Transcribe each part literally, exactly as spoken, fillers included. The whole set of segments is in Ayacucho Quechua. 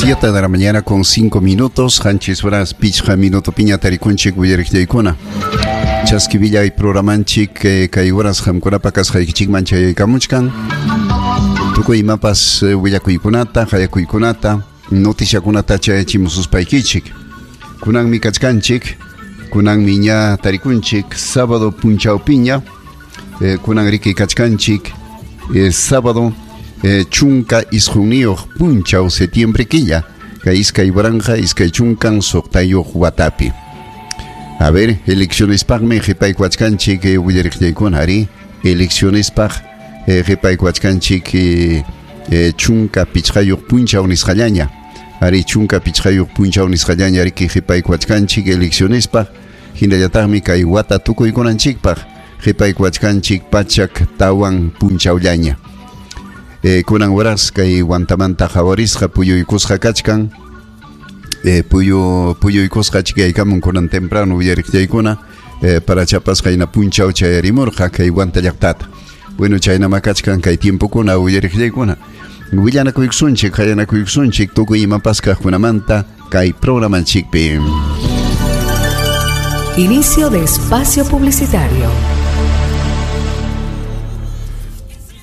Siete de la mañana con cinco minutos, qanchis horas pichqa minuto piña tarikunchik uyariqllaykuna. Chaski programanchik eh, kay horas qamkunapa kasqaykichikman chayaykamuchkan. Tukuy imapas eh, willakuykunata, qayakuykunata, noticiakunata chayachimususpaykichik. Kunanmi kachkanchik, kunanmi ña tarikunchik, sábado punchawpiña, eh, kunan riki kachkanchik, eh, sábado eh, chunka isqunniyuq punchaw septiembre killa, kay iskay waranqa iskay chunkan suqtayuq watapi. A ver, eleccionespaqmi qhipaykuachkanchik eh, willariqllaykuna ari, eleccionespaq eh, qhipaykuachkanchik eh, eh, chunka pichqayuq punchaw nisqallaña. Ari chunka pichqayuq punchaw nisqallaña riki qhipaykuachkanchik eleccionespaq, hinallataqmi kay wata tukuykunanchikpaq qhipaykuachkanchik pachak tawan punchawllaña. Eh, kunan horas kay Huantamanta qhawarisqa puyuykusqa kachkan, eh, puyu puyuykusqa chikaykamun kunan temprano uyariqllaykuna, eh, para chapasqa hina punchaw chayarimurqa kay Huanta llaqtata. Bueno, chaynama kachkan kay tiempokuna uyariqllaykuna. Willanakuykusunchik, qayanakuykusunchik tukuy imapas kaqkunamanta kay programanchikpi. Inicio de espacio publicitario.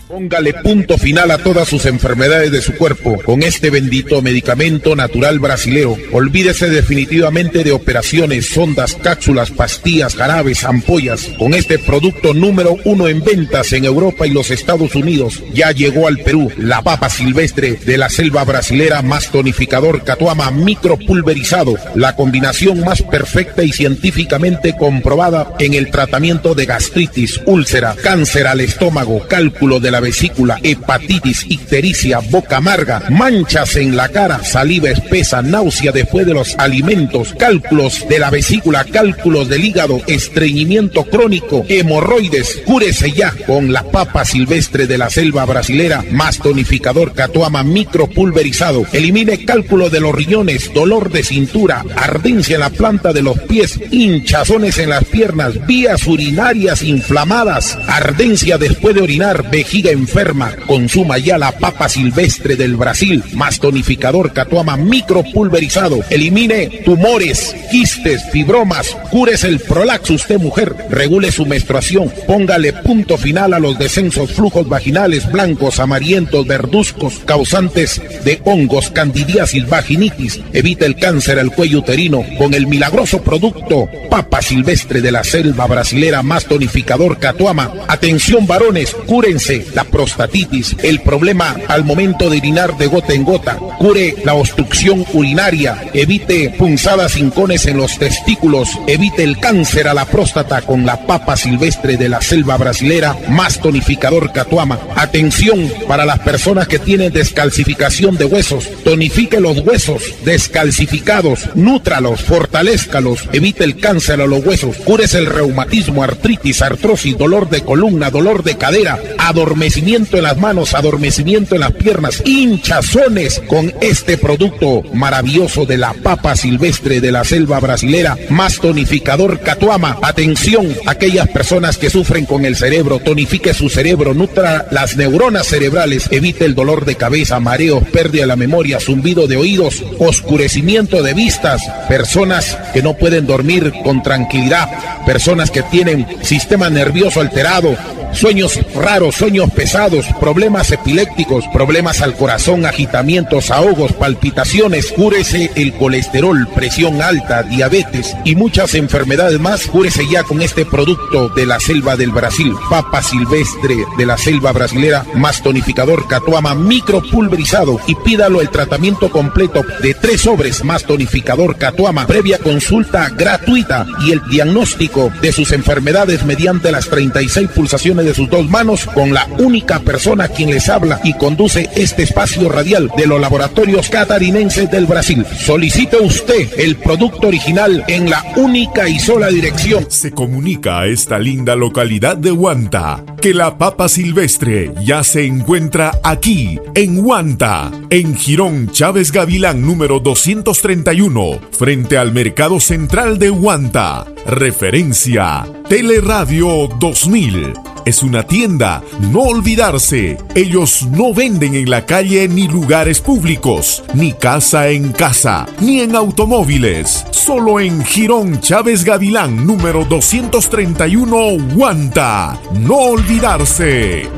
Póngale punto final a todas sus enfermedades de su cuerpo con este bendito medicamento natural brasilero. Olvídese definitivamente de operaciones, sondas, cápsulas, pastillas, jarabes, ampollas. Con este producto número uno en ventas en Europa y los Estados Unidos, ya llegó al Perú la papa silvestre de la selva brasilera más tonificador Catuama micropulverizado, la combinación más perfecta y científicamente comprobada en el tratamiento de gastritis, úlcera, cáncer al estómago, cálculo de la vesícula, hepatitis, ictericia, boca amarga, manchas en la cara, saliva espesa, náusea después de los alimentos, cálculos de la vesícula, cálculos del hígado, estreñimiento crónico, hemorroides. Cúrese ya con la papa silvestre de la selva brasilera más tonificador Catuama micropulverizado. Elimine cálculo de los riñones, dolor de cintura, ardencia en la planta de los pies, hinchazones en las piernas, vías urinarias inflamadas, ardencia después de orinar, vejiga enferma. Consuma ya la papa silvestre del Brasil más tonificador Catuama micropulverizado. Elimine tumores, quistes, fibromas, cúrese el prolaxo usted mujer, regule su menstruación, póngale punto final a los descensos, flujos vaginales blancos, amarillentos, verduzcos, causantes de hongos, candidiasis, vaginitis. Evite el cáncer al cuello uterino con el milagroso producto papa silvestre de la selva brasilera más tonificador Catuama. Atención varones, cúrense la prostatitis, el problema al momento de orinar de gota en gota, cure la obstrucción urinaria, evite punzadas hincones en los testículos, evite el cáncer a la próstata con la papa silvestre de la selva brasilera más tonificador Catuama. Atención para las personas que tienen descalcificación de huesos, tonifique los huesos descalcificados, nútralos, fortalézcalos, evite el cáncer a los huesos, cúrese el reumatismo, artritis, artrosis, dolor de columna, dolor de cadera, adormecimiento en las manos, adormecimiento en las piernas, hinchazones con este producto maravilloso de la papa silvestre de la selva brasilera más tonificador Catuama. Atención, aquellas personas que sufren con el cerebro, tonifique su cerebro, nutra las neuronas cerebrales, evite el dolor de cabeza, mareos, pérdida de la memoria, zumbido de oídos, oscurecimiento de vistas, personas que no pueden dormir con tranquilidad, personas que tienen sistema nervioso alterado, sueños raros, sueños pesados, problemas epilépticos, problemas al corazón, agitamientos, ahogos, palpitaciones. Cúrese el colesterol, presión alta, diabetes y muchas enfermedades más. Cúrese ya con este producto de la selva del Brasil, papa silvestre de la selva brasilera más tonificador Catuama micropulverizado, y pídalo el tratamiento completo de tres sobres más tonificador Catuama, previa consulta gratuita y el diagnóstico de sus enfermedades mediante las treinta y seis pulsaciones de sus dos manos, con la única persona quien les habla y conduce este espacio radial de los laboratorios catarinenses del Brasil. Solicite usted el producto original en la única y sola dirección. Se comunica a esta linda localidad de Huanta. Porque la papa silvestre ya se encuentra aquí, en Huanta, en Jirón Chávez Gavilán número doscientos treinta y uno, frente al Mercado Central de Huanta. Referencia, Teleradio dos mil. Es una tienda, no olvidarse. Ellos no venden en la calle ni lugares públicos, ni casa en casa, ni en automóviles. Solo en Jirón Chávez Gavilán, número doscientos treinta y uno, Huanta. No olvidarse.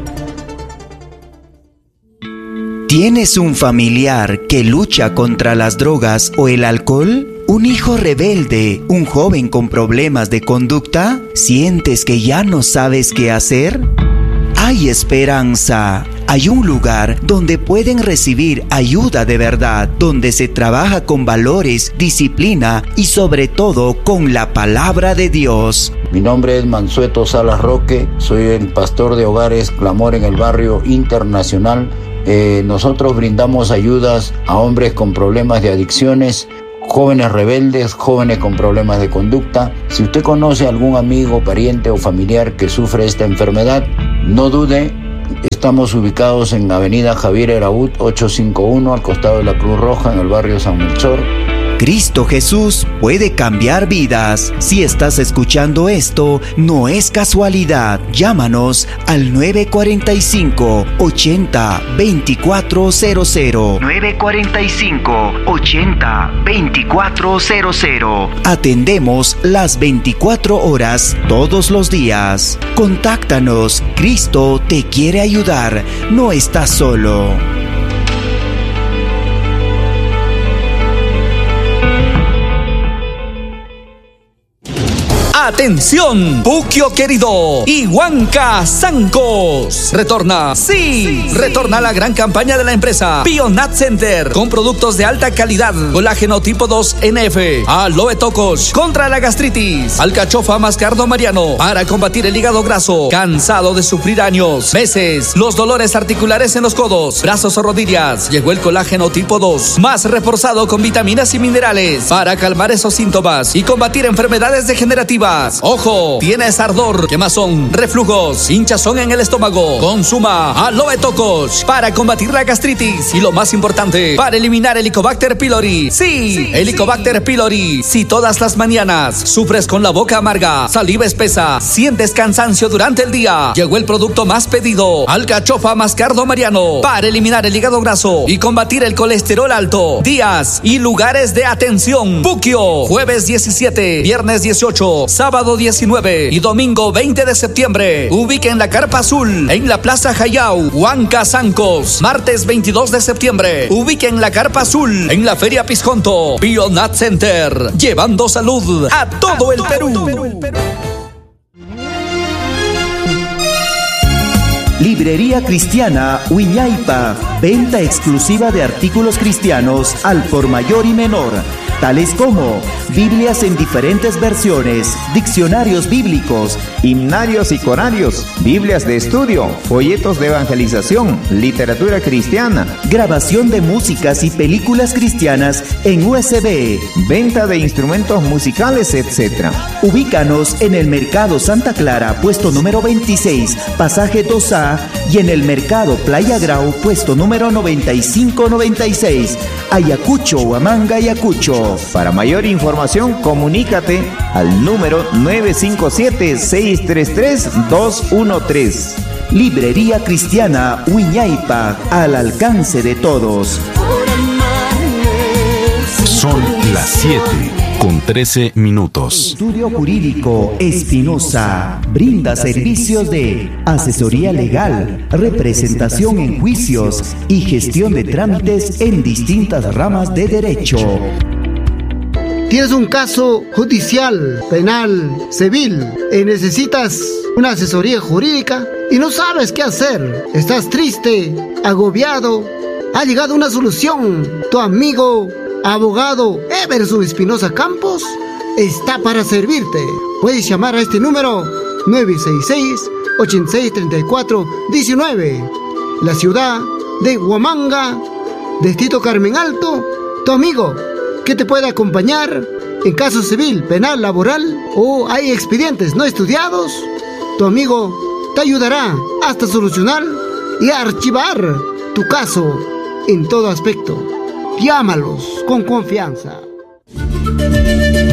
¿Tienes un familiar que lucha contra las drogas o el alcohol? ¿Un hijo rebelde? ¿Un joven con problemas de conducta? ¿Sientes que ya no sabes qué hacer? Hay esperanza. Hay un lugar donde pueden recibir ayuda de verdad, donde se trabaja con valores, disciplina y sobre todo con la palabra de Dios. Mi nombre es Mansueto Salas Roque, soy el pastor de Hogares Clamor en el Barrio Internacional. Eh, nosotros brindamos ayudas a hombres con problemas de adicciones, jóvenes rebeldes, jóvenes con problemas de conducta. Si usted conoce a algún amigo, pariente o familiar que sufre esta enfermedad, no dude. Estamos ubicados en Avenida Javier Eraúd, ochocientos cincuenta y uno, al costado de la Cruz Roja, en el barrio San Melchor. Cristo Jesús puede cambiar vidas. Si estás escuchando esto, no es casualidad. Llámanos al nueve cuarenta y cinco, ochenta, veinticuatro cero cero. nueve cuarenta y cinco, ochenta, veinticuatro cero cero. Atendemos las veinticuatro horas todos los días. Contáctanos. Cristo te quiere ayudar. No estás solo. ¡Atención! Puquio querido y Huanca Zancos. Retorna, sí, sí, retorna la gran campaña de la empresa Bionat Center con productos de alta calidad, colágeno tipo dos N F, aloe tocos contra la gastritis, alcachofa mascardo mariano para combatir el hígado graso, cansado de sufrir años, meses, los dolores articulares en los codos, brazos o rodillas. Llegó el colágeno tipo dos, más reforzado con vitaminas y minerales para calmar esos síntomas y combatir enfermedades degenerativas. Ojo, tienes ardor, quemazón, reflujos, hinchazón en el estómago. Consuma aloe tocos para combatir la gastritis y lo más importante, para eliminar Helicobacter pylori. Sí, sí, Helicobacter sí. pylori. Si todas las mañanas sufres con la boca amarga, saliva espesa, sientes cansancio durante el día, llegó el producto más pedido, alcachofa mascardo mariano, para eliminar el hígado graso y combatir el colesterol alto. Días y lugares de atención: Puquio, jueves diecisiete, viernes dieciocho, sábado diecinueve y domingo veinte de septiembre. Ubiquen la Carpa Azul en la Plaza Jayao, Huanca Zancos. Martes veintidós de septiembre. Ubiquen la Carpa Azul en la Feria Pisconto. Bionat Center, llevando salud a todo, a el, todo Perú. el Perú. Librería Cristiana Wiñaypa, venta exclusiva de artículos cristianos al por mayor y menor, tales como Biblias en diferentes versiones, diccionarios bíblicos, himnarios y corarios, Biblias de estudio, folletos de evangelización, literatura cristiana, grabación de músicas y películas cristianas en U S B, venta de instrumentos musicales, etcétera. Ubícanos en el Mercado Santa Clara, puesto número veintiséis, pasaje dos A, y en el Mercado Playa Grau, puesto número noventa y cinco noventa y seis, Ayacucho, Huamanga, Ayacucho. Para mayor información, comunícate al número nueve cinco siete, seis tres tres, dos uno tres. Librería Cristiana Wiñaypa, al alcance de todos. Son las siete con trece minutos. Estudio Jurídico Espinosa brinda servicios de asesoría legal, representación en juicios y gestión de trámites en distintas ramas de derecho. Tienes un caso judicial, penal, civil y necesitas una asesoría jurídica y no sabes qué hacer. Estás triste, agobiado. Ha llegado una solución. Tu amigo, abogado Everson Espinosa Campos, está para servirte. Puedes llamar a este número nueve seis seis, ocho seis tres cuatro, diecinueve. La ciudad de Huamanga, Distrito Carmen Alto, tu amigo que te puede acompañar en caso civil, penal, laboral o hay expedientes no estudiados. Tu amigo Te ayudará hasta solucionar y archivar tu caso en todo aspecto. Llámalos con confianza.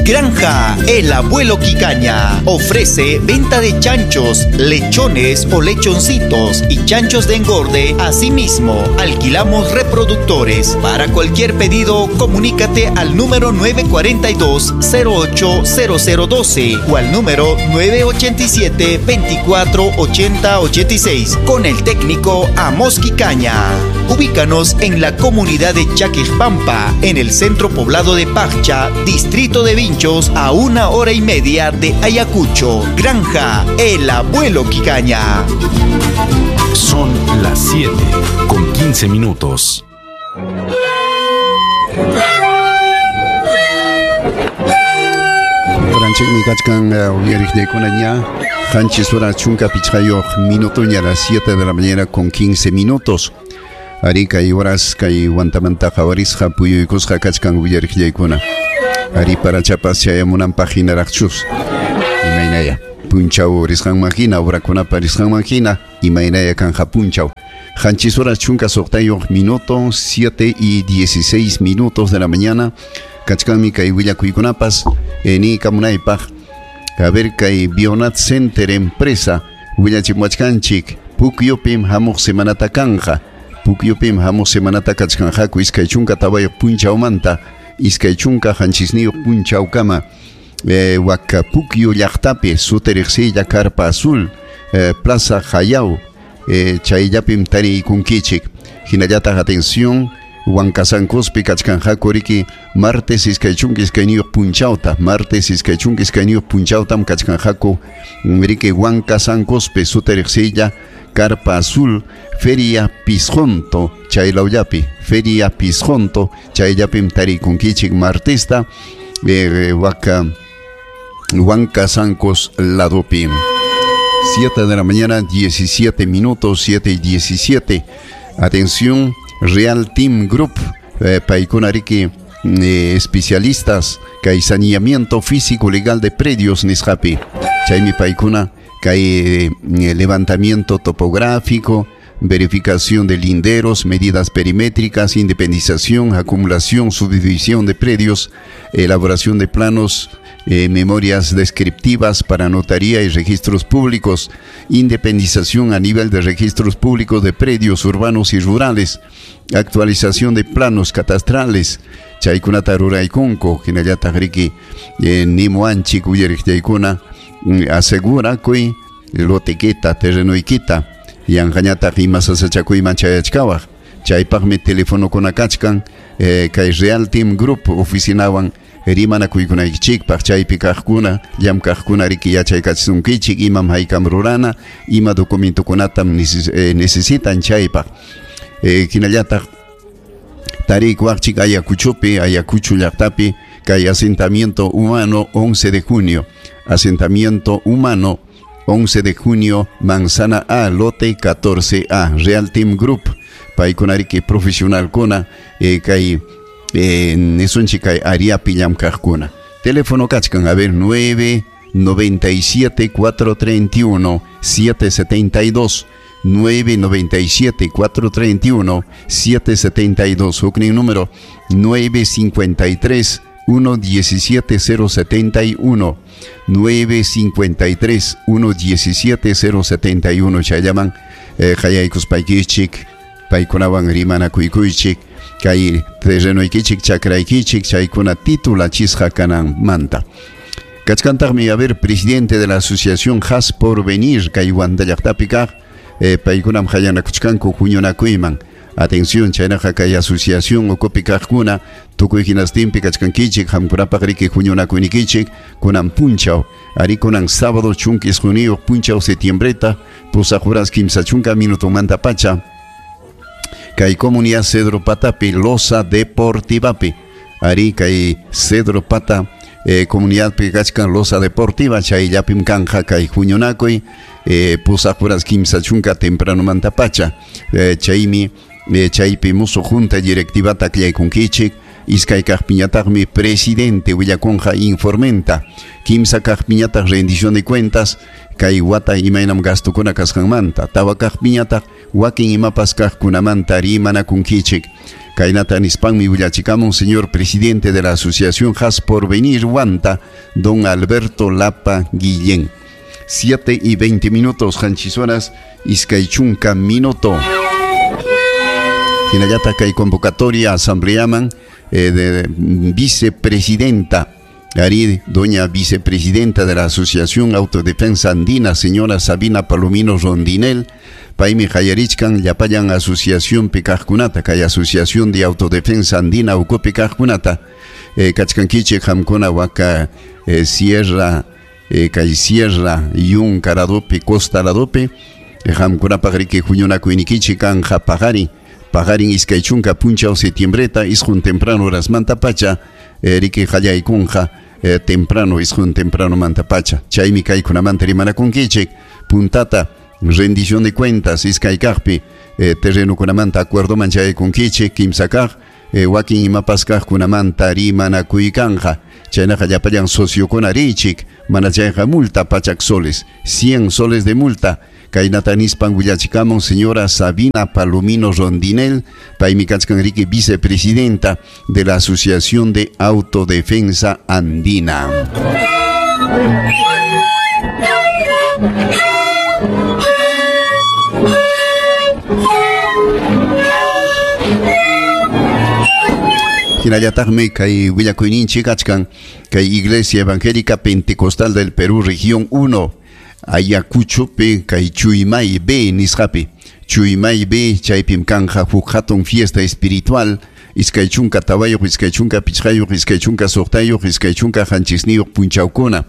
Granja El Abuelo Quicaña ofrece venta de chanchos, lechones o lechoncitos y chanchos de engorde. Asimismo, alquilamos reproductores. Para cualquier pedido, comunícate al número nueve cuarenta y dos, cero ocho cero cero doce o al número nueve ochenta y siete, veinticuatro ochenta ochenta y seis con el técnico Amos Quicaña. Ubícanos en la comunidad de Chaquejpampa, en el centro poblado de Paccha, distrito de Vinchos, a una hora y media de Ayacucho. Granja El Abuelo Quicaña. Son las siete con quince minutos. Minuto a las siete de la mañana con quince minutos. Ari kay horas kay Huantamanta qawarisqa puyuykusqa kachkan willariqllaykuna. Ari parachapas chayamunanpaq hinaraqchus. Imaynaya punchaw risqanman hina, horakunapa risqanman hina, imaynaya kanja punchaw. Qanchis horas chunka suqtayuq minuto, siete y dieciséis minutos de la mañana. Kachkanmi kay willakuykunapas ni kamunaypaq. A ver kay Bionat Center empresa willachimwachkanchik Pukyupim hamuq semanata kanja. Pukyupim hamuq semanata kachkanqaku iskay chunka tawayuq punchawmanta iskay chunka qanchisniyuq punchawkama eh, waka Pukyu llaqtapi suti riqsiylla Carpa Azul eh, Plaza Jayau eh, chayllapim tariykunkichik. Hinallataq atención Huancasancospi kachkanqaku riki martes iskay chunka iskayniyuq punchawta, martes iskay chunka iskayniyuq punchawtam kachkanqaku riki Huancasancospi suti riqsiylla Carpa Azul Feria Pisjonto chaylawllapi, Feria Pisjonto chayllapim tarikunkichik martesta eh, waka Huancasancos ladopi. siete de la mañana diecisiete minutos, siete y diecisiete. Atención, Real Team Group, eh, paykuna riki eh, especialistas kay saneamiento físico legal de predios nisqapi. Chaymi paykuna kay eh, levantamiento topográfico, verificación de linderos, medidas perimétricas, independización, acumulación, subdivisión de predios, elaboración de planos, eh, memorias descriptivas para notaría y registros públicos, independización a nivel de registros públicos de predios urbanos y rurales, actualización de planos catastrales, chaykunata ruraykunku, hinallataq riki eh, nimuanchik uyariqllaykuna asegura kuy lotequita, terrenoykita, yanqañataq ima sasachakuyman chayachkawaq. Chaypaqmi telefonokuna kachkan eh, kay Real Team Group oficinawan rimanakuykunaykichikpaq chaypi kaqkuna llamkaqkuna riki yachaykachisunkichik imam haykam rurana ima documentokunatam neces eh, necesitan chaypaq. Eh, hinallataq tarikuwaqchik Ayacuchopi, Ayacucho llaqtapi kay asentamiento humano once de junio, asentamiento humano once de junio, Manzana A, lote catorce A, Real Team Group, paykunariki profesionalkuna eh, kay eh, nisunchik kay ariapi llamkaqkuna. Teléfono kachkan, a ver, nueve noventa y siete, cuatro treinta y uno, siete setenta y dos, nueve noventa y siete, cuatro treinta y uno, siete setenta y dos, huknin número nueve cincuenta y tres, uno diecisiete cero setenta y uno, nueve cincuenta y tres, uno diecisiete cero setenta y uno. Chayllaman eh, hayaykuspaykichik paykunawan rimanakuykuychik kay terrenoykichik chakraykichik chaykuna titulachisqa kananmanta. Kachkantaqmi, a ver, presidente de la asociación Has Porvenir kay Huanta llaqtapi kaq eh, paykunam hayanakuchkanku huñunakuyman. Atención, chaynaqa kay asociación ukupi kaqkuna tukuy hinastinpi kachkankichik qamkunapaq riki huñunakuynikichik kunan punchaw ari kunan sábado chunka isquniyuq punchaw septiembreta pusaq horas kimsa chunka minutomanta pacha kay comunidad Cedro Patapi Loza Deportivapi ari kay Cedro Pata eh, comunidadpi kachkan Loza Deportiva chayllapim kanja kay huñunakuy eh, pusaq horas kimsa chunka tempranomanta pacha eh, chaymi Eh, chaypi musuq junta directivata aklaykunkichik Iskay kaqpiñataqmi presidente willakunqa informenta. Kimsa kaqpiñataq rendición de cuentas kay wata imaynam gastukuna kasqanmanta. Tawa kaqpiñataq wakin imapas kaqkunamanta rimanakunkichik. Kaynata nispanmi willachikamun señor presidente de la Asociación Has Porvenir Huanta, don Alberto Lapa Guillén. siete y veinte minutos, qanchis horas, iskay chunka minuto. Hinallataq kay convocatoria asambleaman eh, de vicepresidenta, Ari, doña vicepresidenta de la Asociación Autodefensa Andina, señora Sabina Palomino Rondinel, paymi qayarichkan llapallan Asociación Picajkunata, kay Asociación de Autodefensa Andina ukupi kaqkunata, eh, kachkankichik qamkuna waka eh, sierra, eh, kay sierra, yunka ladopi, costa ladopi, qamkunapaq riki huñunakuynikichik kanja paqarin, paqarin iskay chunka punchaw septiembreta, isqun temprano horasmanta pacha, eh, riki qallaykunqa, Eh, temprano, isqun temprano manta pacha. Chaymi kaykunamanta rimanakunkichik. Puntata, rendición de cuentas, iskay kaqpi, eh, terrenukunamanta acuerdoman chaykunkichik, kimsa kaq, eh, wakin imapas kaqkunamanta rimanakuykanqa. Chaynaqa llapallan sociokuna richik, mana chayqa multa pachak soles, cien soles de multa. Kaynata nispan willachikamun señora Sabina Palomino Rondinel, paymi kachkan riki vicepresidenta de la Asociación de Autodefensa Andina. Hinallataqmi kay willakuyninchik kachkan kay Iglesia Evangélica Pentecostal del Perú, Región uno, Ayacuchopi, kay Chuymay B nisqapi. Chuymay B chaypim kanja huk hatun fiesta espiritual, iskay chunka tawayuq, iskay chunka pichqayuq, iskay chunka suqtayuq, iskay chunka qanchisniyuq punchawkuna.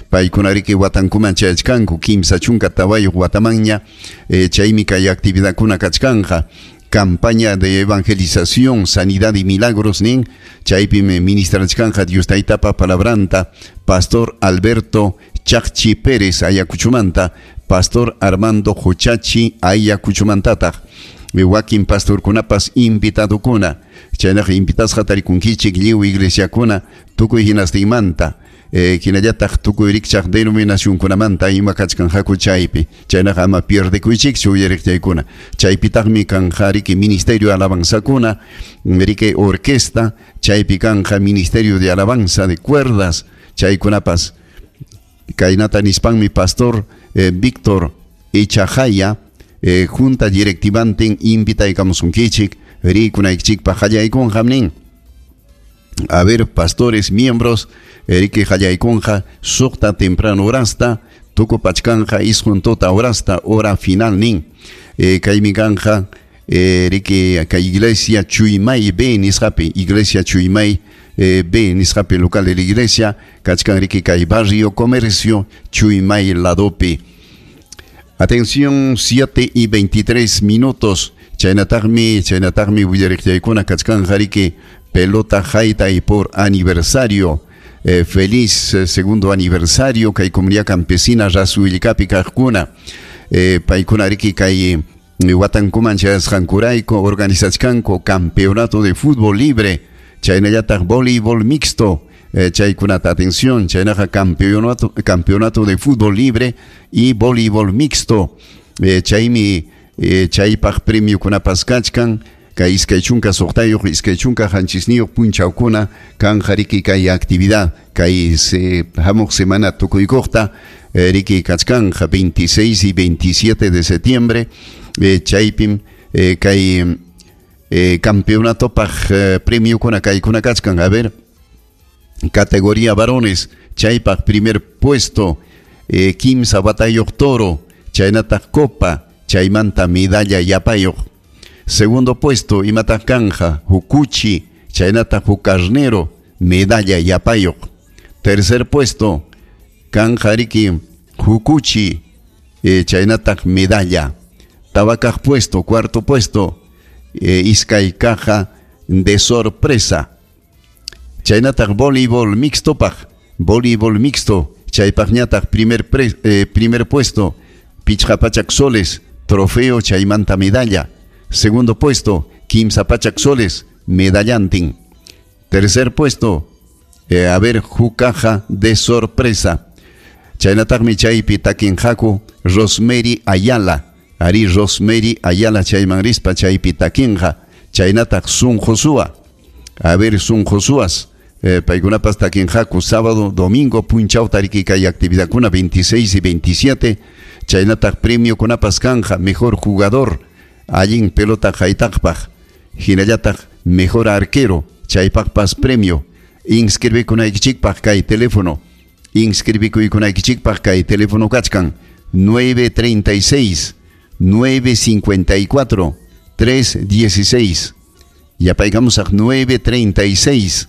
Paykuna riki watankuman chayachkanku, kimsa chunka tawayuq watamanña, eh, chaymi kay actividadkuna kachkanja. Campaña de evangelización, sanidad y milagros nin, chaypim ministrachkanja Dios taytapa palabranta, Pastor Alberto Chacchi Pérez Ayacuchumanta, Pastor Armando Jochachi Ayacuchumantataq, wakin pastorkunapas invitadukuna, chaynaqa invitasqa tarikunkichik lliw iglesiakuna tukuy hinastinmanta, eh, hinallataq tukuy rikchaq denominacionkunamanta ima kachkanqaku chaypi, chaynaqa ama pierdekuychikchu uyariqchaykuna. Chaypitaqmi kanja riki ministerio alabanzakuna, riki orquesta, chaypi kanja ministerio de alabanza de cuerdas, chaykunapas. Kaynata nispanmi pastor eh, Víctor Echajaya, eh, junta directivantin invitaykamusunkichik, rikunaykichikpaq qallaykunqa nin. A ver, pastores, miembros, riki qallaykunqa suqta temprano horasta, tukupachkanja isqun tuta horasta, hora final nin. Eh, kaymi kanja eh, riki kay iglesia Chuymay B nisqapi, iglesia Chuymay eh, B nisqapi local de la iglesia, kachkan riki kay barrio comercio Chuymay ladopi. Atención, siete y veintitrés minutos. Chaynataqmi, chaynataqmi willariqchaykuna kachkanja riki pelota haytay y por aniversario. Eh, feliz eh, segundo aniversario kay comunidad campesina Rasuillcapi kaqkuna. Eh, paykuna riki kay watankuman chayasqankurayku organizachkanku campeonato de fútbol libre, chaynallataq voleibol mixto. Eh, chaykunata atención, chaynaqa campeonato, campeonato de fútbol libre y voleibol mixto. Eh, chaymi eh, chaypaq premiokunapas kachkan kay iskay chunka suqtayuq, iskay chunka qanchisniyuq punchawkuna kanja riki kay actividad kay se hamuq semana tukuykuqta eh, riki kachkanja veintiséis y veintisiete de septiembre, eh, chaypim eh, kay eh, campeonatopaq eh, premiokuna kaykuna kachkan. A ver, categoría varones, chaypaq primer puesto, eh, kimsa watayuq toro, chaynataq copa, chaymanta medalla yapayuq. Segundo puesto, imataq kanja, hukuchi, chaynataq huk carnero, medalla yapayuq. Tercer puesto, kanja riki hukuchi, eh, chaynataq medalla. Tawakaq puesto, cuarto puesto, eh, iskay caja de sorpresa. Chaynataq voleibol mixto paq, voleibol mixto, chaypaqñataq primer, pre, eh, primer puesto, pichqa pachak soles, trofeo chaymanta medalla. Segundo puesto, kimsa pachak soles, medallantin. Tercer puesto, eh, a ver, Jucaja de sorpresa. Chaynataqmi chaypi takinqaku Rosemary Ayala. Ari Rosemary Ayala chayman rispa chaypi takinqa. Chaynataq Sun Josua. A ver, Sun Josuas. Eh, paykunapas takinqaku sábado, domingo, punchaw tariki kay actividadkuna veintiséis y veintisiete. Chaynataq premio kunapas kanja, mejor jugador, allin pelota haytaqpaq. Hinallataq mejor arquero, chaypaqpas premio. Inscribikunaykichikpaq kay teléfono. Inscribikuykunaykichikpaq kay teléfono kachkan nueve treinta y seis, nueve cincuenta y cuatro, tres dieciséis. Yapaykamos a nueve treinta y seis,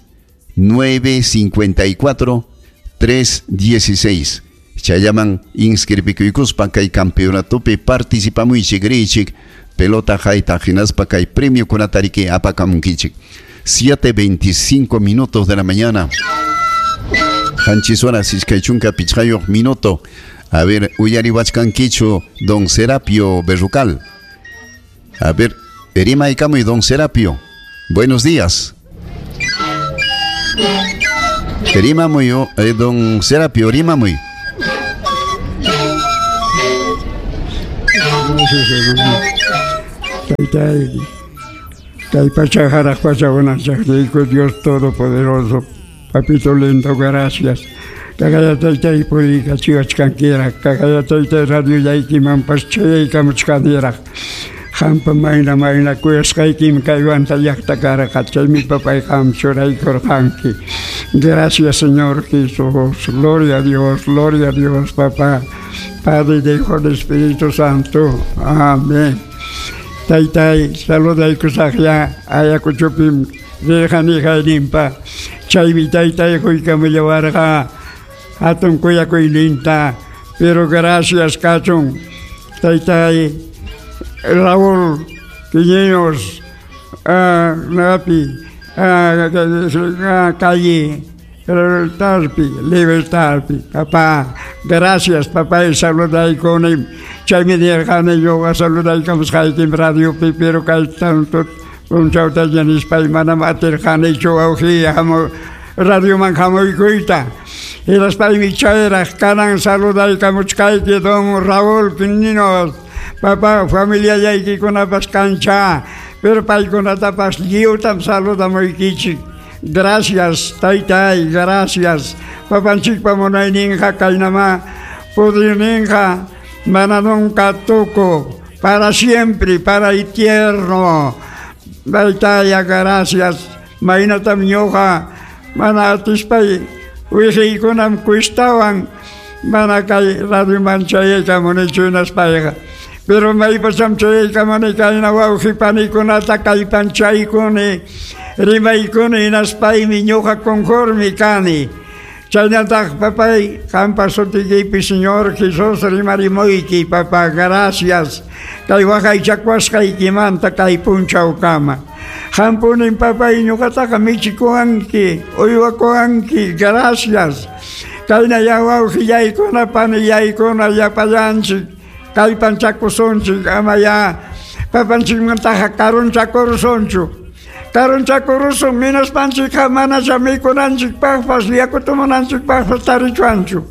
nueve cincuenta y cuatro, tres dieciséis. Chayaman inscribikuykuspa kay campeonatopi participamuychik richik pelota hayta hinaspa kay premio kunatariki apakamunkichik. siete veinticinco minutos de la mañana. Qanchis horas iskay chunka pichqayuq minuto. A ver, uyariwachkankichu don Serapio Berrucal. A ver, rimaykamuy don Serapio. Buenos días. Rimamuy, eh, don Serapio, rimamuy. Taytay, kay pacha haraq pacha unanchaqniyku Dios Todopoderoso, papito lindo, gracias. Kagaya taytay puriykachiwachkankiraq, kagaya taytay radioyaykimanpas chayaykamuchkaniraq. Qampa mayna mayna kuyasqaykim kay Huanta llaqta karqa, chaymi papay qam churaykurqanki. Gracias, Señor Jesús. Gloria a Dios, gloria a Dios, papá. Padre, Hijo, Espíritu Santo. Amén. Taytay, saludaykusaqya Ayacuchupim rirqani hayninpa. Chaymi taytay quykamullawarqa hatun kuyakuyninta. Pero gracias kachun taytay Raúl Quiñones, uh, Napi, uh, calle Tarpi, Libertarpi, papá, gracias papá, y saludaykunim. Chaymi nirqani ñuqa saludaykamusqaykim radiopi, pero kay tanto punchawta nispay manam atirqanichu wawqiy hamu radioman hamuykuyta. Hinaspaymi chayraq kanan saludaykamuchkayki don Raúl Quiñones, papá, familiallaykikunapas kancha, pero paykunatapas lliwtam saludamuykichik. Gracias, taytay, gracias. Papanchikpa munayninqa kaynama pudirninqa mana nunca tuku, para siempre, para eterno. Taytaya, gracias. Maynatam ñuqa mana atispay wihiykunam kuistawan mana kay radioman chayaykamunichu hinaspayqa. Pero maypacham chayaykamuni kayna wawqi panikunata kallpanchaykuni rimaykuni hinaspaymi ñuqa conforme kani. Chaynataq papay qampa sutiykipi Señor Jesús rimarimuyki papá, gracias. Kay waqaychakuwasqaykimanta kay punchawkama. Qampunin papay ñuqataqa michikuwanki, uywakuwanki, gracias. Kayna wawqillaykuna panillaykuna llapallanchik kallpanchakusunchik amaya papanchikmantaqa karunchakurusunchu. Karunchakurusun hinaspanchikqa manacha mikunanchikpaqpas yaku tomananchikpaqpas tarichwanchu.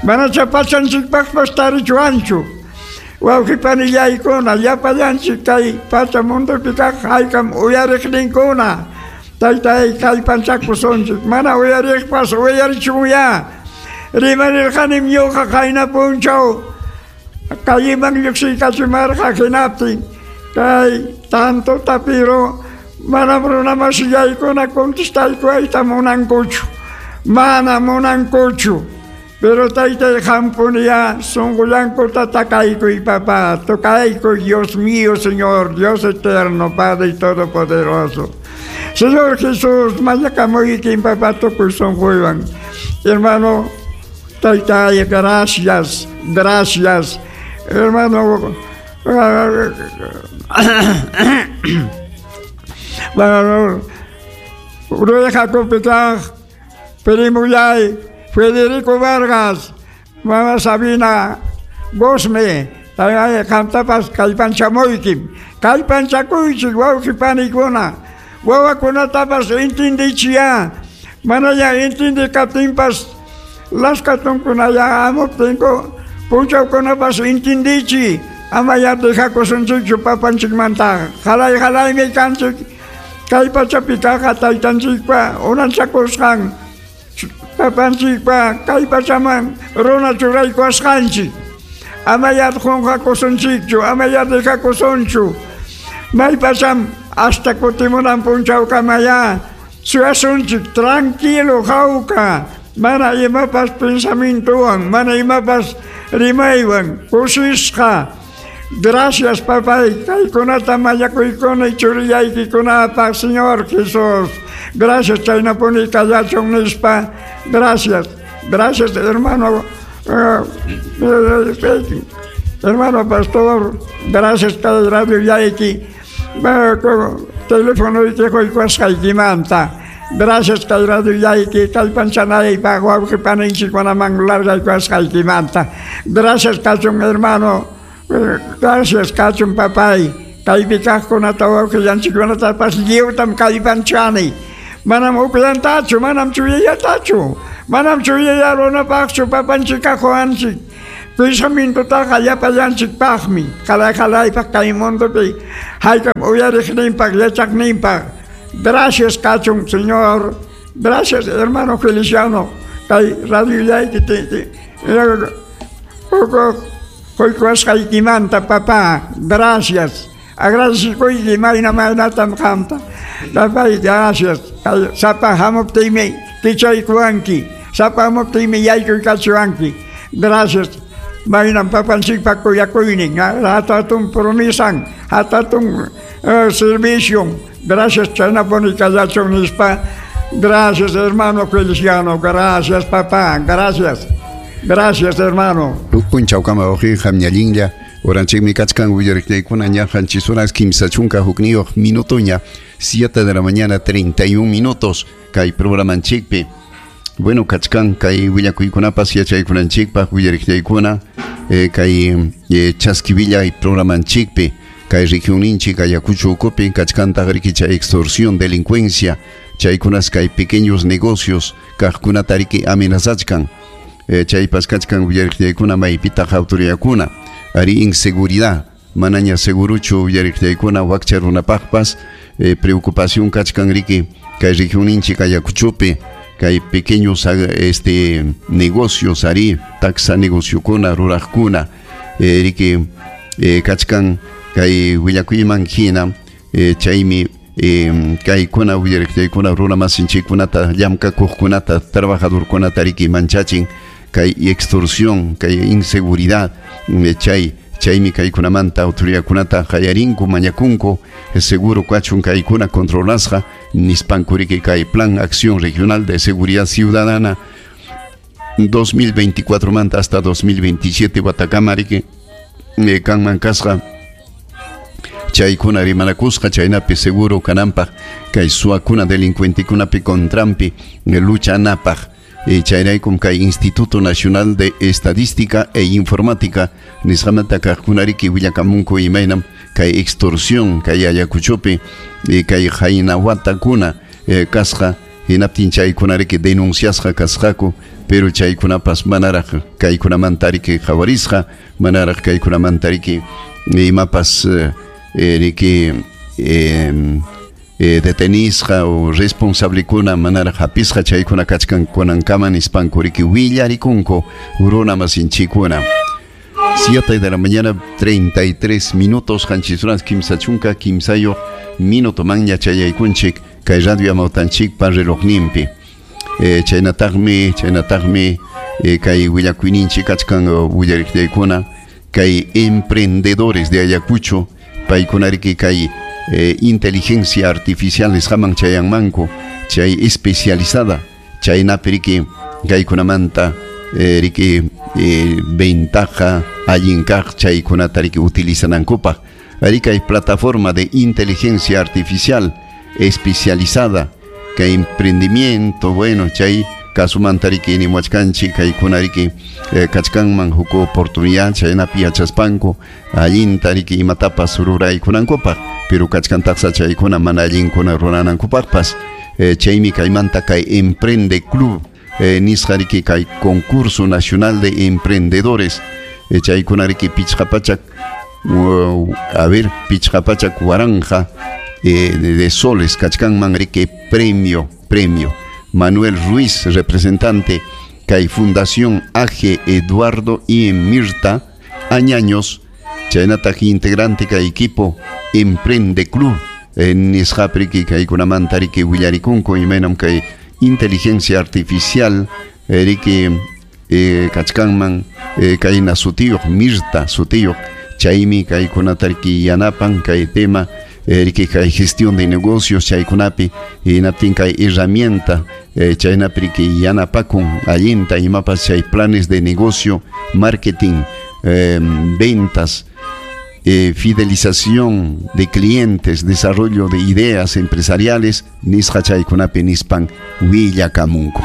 Manacha pachanchikpaqpas tarichwanchu. Wawqi panillaykuna llapallanchik kay pacha mundopi kaq haykam uyariqninkuna. Taytay kallpanchakusunchik mana uyariqpas uyarichunya. Rimarirqanim ñuqa qayna punchaw calleman lluqsiykachimarqa hinaptin kay tanto tapiro manam runamasillaykuna contestaykuwayta munankuchu, mana munankuchu. Pero taytay qampuniya sunqullankuta takaykuy papá, tocaykuy Dios mío, Señor, Dios eterno, Padre todopoderoso. Señor Jesús, mañakamuykim papá tukuy sunquywan. Hermano, taytay, gracias, gracias. Hermano, bueno, Rueja Perimuyay, Federico Vargas, Mama Sabina Gosme, qamtapas kallpanchamuykim, kallpanchakuychik wawqi panikuna, Wawakunatapas entendichiya. Manaya entende kaptinpas laskatunkunaya hamuptinku punchawkunapas entendichi. Amaya dejakusunchikchu papanchikmanta. Halay halaymi kanchik. Kay pachapi kaqqa taytanchikpa unanchakusqan papanchikpa kay pachaman runa churaykuwasqanchik. Amaya qunqakusunchikchu, amaya dejakusunchu. Maypacham hasta kutimunan punchawkamaya suyasunchik tranquilo hawka. Mana imapas pensamientowan, mana imapas rimaywan, kusisqa. Gracias, papay, kaykunata mañakuykuni churiyaykikunapaq, Señor Jesús. Gracias, chaynapuni kallachun nispa. Gracias, gracias, hermano, uh, hermano pastor. Gracias, kay radio yayki, teléfono quykuwasqaykimanta. Gracias, kay radio yayki, kallpanchanaypaq wawqi paninchikkunaman largaykuwasqaykimanta. Gracias, kachun, hermano. Gracias, kachun papay. Kaypi kaqkunata wawqillanchikkunatapas lliwtam kallpanchani. Manam upyantachu, manam chuyayatachu, manam chuyaya runapaqchu papanchik kaquwanchik. Pensamientotaqa llapallanchikpaqmi, qalay qalaypaq kay mundopi haykam uyariqninpaq, yachaqninpaq. Gracias, kachun, Señor. Gracias, hermano Feliciano. Kay radio yayki quykuwasqaykimanta, papá. Gracias. Agradecikuyki mayna maynatam qamta. Papay, gracias. Sapa hamuptiymi kichaykuwanki. Sapa hamuptiymi yaykuykachiwanki. Gracias. Maynam papanchikpa kuyakuynin. Hatatun promisan, hatatun uh, servicion. Gracias, chaynapuni kallachun nispa. Gracias, hermano Feliciano. Gracias, papá. Gracias. Gracias, hermano. Punchawkama wawqi qamñallinlla oranchikmi kachkan willariqllaykuna ña qanchis horas kimsa chunka hukniyuq minutoña, siete de la mañana treinta y un minutos kay programanchikpi. Bueno, kachkan kay willakuykunapas yachaykunanchikpaq willariqllaykuna eh, kay eh, chaskivillay programanchikpi kay regionninchik Ayacucho ukupi kachkantaq riki chay extorsión, delincuencia, chaykunas kay pequeños negocios kaqkunata riki amenazachkan. Eh, chaypas kachkan willariqllaykuna maypitaq autoridadkuna ari inseguridad manaña seguruchu willariqllaykuna wakcha runapaqpas eh, preocupación kachkan riki kay regionninchik Ayacuchopi kay pequeños este negocios ari taxa negociokuna ruraqkuna eh, riki eh, kachkan kay willakuyman hina eh, chaymi Eh, kaykuna willariqllaykuna runa masinchikkunata llamkakuqkunata trabajadorkunata riki manchachin kay extorsión, kay inseguridad, chay chaymi kaykunamanta autoridadkunata qayarinku mañakunku seguro kachun kaykuna controlasqa nispanku riki kay Plan Acción Regional de Seguridad Ciudadana dos mil veinticuatro manta hasta dos mil veintisiete watakama riki eh, kanman kasqa chaykuna rimanakusqa chaynapi seguro kananpaq kay suwakuna delincuentekunapi contranpi luchanapaq. Eh, chayraykum kay Instituto Nacional de Estadística e Informática nisqamanta kaqkuna riki willakamunku imaynam kay extorsión kay Ayacuchopi eh, kay haynawatakuna eh, kasqa hinaptin chaykuna riki denunciasqa kasqaku pero chaykunapas manaraq kaykunamanta riki qhawarisqa manaraq kaykunamanta riki imapas eh, riki eh, eh, detenisqa o responsablikuna manaraq hapisqa chaykuna kachkan kunankama nispanku riki willarikunku runa masinchikuna. siete de la mañana treinta y tres minutos qanchis horas kimsa chunka kimsayuq minuto manña chayaykunchik kay radio amawtanchikpa relojninpi. Eh, chaynataqmi chaynataqmi eh, kay willakuyninchik kachkan willariqllaykuna kay emprendedores de Ayacucho paykuna riki kay eh, inteligencia artificial nisqaman chayanmanku chay especializada chaynapi riki kaykunamanta eh, riki eh, ventaja allin kaq chaykunata riki utilizanankupaq ari kay plataforma de inteligencia artificial especializada kay emprendimiento bueno chay Kasumanta riki nimuachkanchik kaykuna riki eh, kachkanman huk oportunidad chaynapi yachaspanku allinta riki imatapas ruraykunankupaq pero kachkantaqsa chaykuna mana allinkuna ruranankupaqpas eh, chaymi kaymanta kay Emprende Club eh, nisqa riki kay concurso nacional de emprendedores eh, chaykuna riki pichqa pachak uh, a ver pichqa pachak waranja eh, de, de soles kachkanman riki premio premio Manuel Ruiz, representante kay Fundación A G Eduardo y Mirta Añaños, chaynataq integrante kay equipo Emprende Club nisqapi riki kaykunamanta riki willarikunku imaynam kay inteligencia artificial riki eh, kachkanman eh, kayna sutiyuq Mirta sutiyuq chaymi kaykunata riki yanapan kay tema riki kay gestión de negocios chaykunapi hinaptin kay herramienta eh, chaynapi riki yanapakun allinta imapas chay planes de negocio, marketing, eh, ventas, eh, fidelización de clientes, desarrollo de ideas empresariales nisqa chaykunapi nispan willakamunku.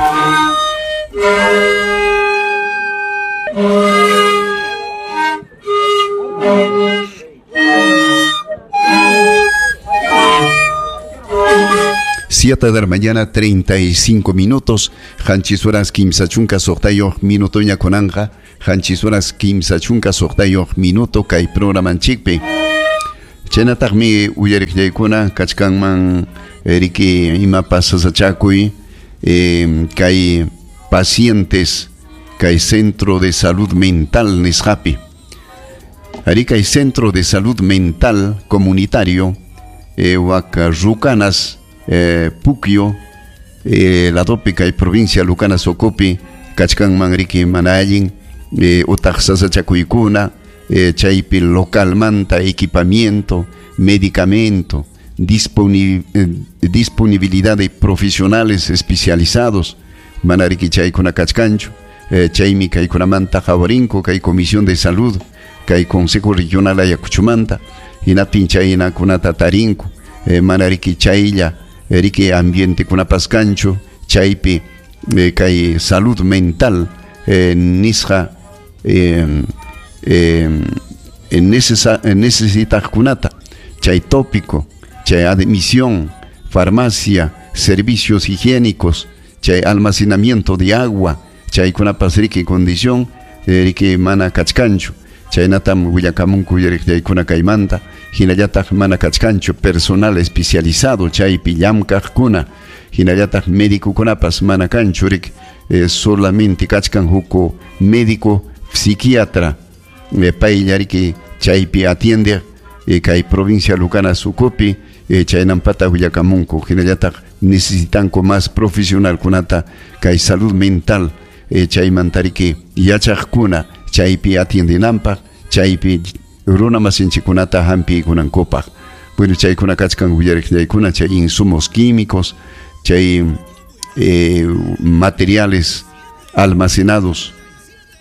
Siete de la mañana, treinta y cinco minutos. Qanchis horas kimsa chunka suqtayuq minutoña kunanqa. Qanchis horas kimsa chunka suqtayuq minuto kay programanchikpi. Chaynataqmi uyariqllaykuna kachkanman riki imapas sasachakuy eh, kay pacientes kay centro de salud mental nisqapi. Ari kay centro de salud mental comunitario eh, wak Rucanas Eh, Puquio, eh, la Tópica y provincia Lucana Socopi, kachkanman riki mana allin, eh, utaq sasachakuykuna, eh, chaypi localmanta equipamiento, medicamento, disponi eh, disponibilidad de profesionales especializados, mana riki chaykuna kachkanchu, eh, chaymi kaykunamanta qhawarinko, kay Comisión de Salud, kay Consejo Regional Ayacuchumanta, hinaptin chaynakunata tarinku, eh, mana riki chaylla riki ambiente kunapas kanchu chaypi eh, kay salud mental eh, nisqa eh, eh, necesitaqkunata chay tópico chay admisión, farmacia, servicios higiénicos, chay almacenamiento de agua, chaykunapas riki condición eh, riki mana kachkanchu chaynatam willakamunku uyariqllaykuna kaymanta hinallataq mana kachkanchu personal especializado chaypi llamkaqkuna hinallataq médicokunapas mana kanchu rik eh, solamente kachkan huk médico psiquiatra eh, paylla riki chaypi atiende eh, kay provincia Lucana Sucupi eh, chaynampata willakamunku hinallataq necesitanku más profesionalkunata kay salud mental eh, chaymanta riki yachaqkuna chaypi atiendinampaq chaypi runa masinchikunata hampiykunankupaq. Bueno, chaykuna kachkan willariqllaykuna chay insumos químicos, chay eh, materiales almacenados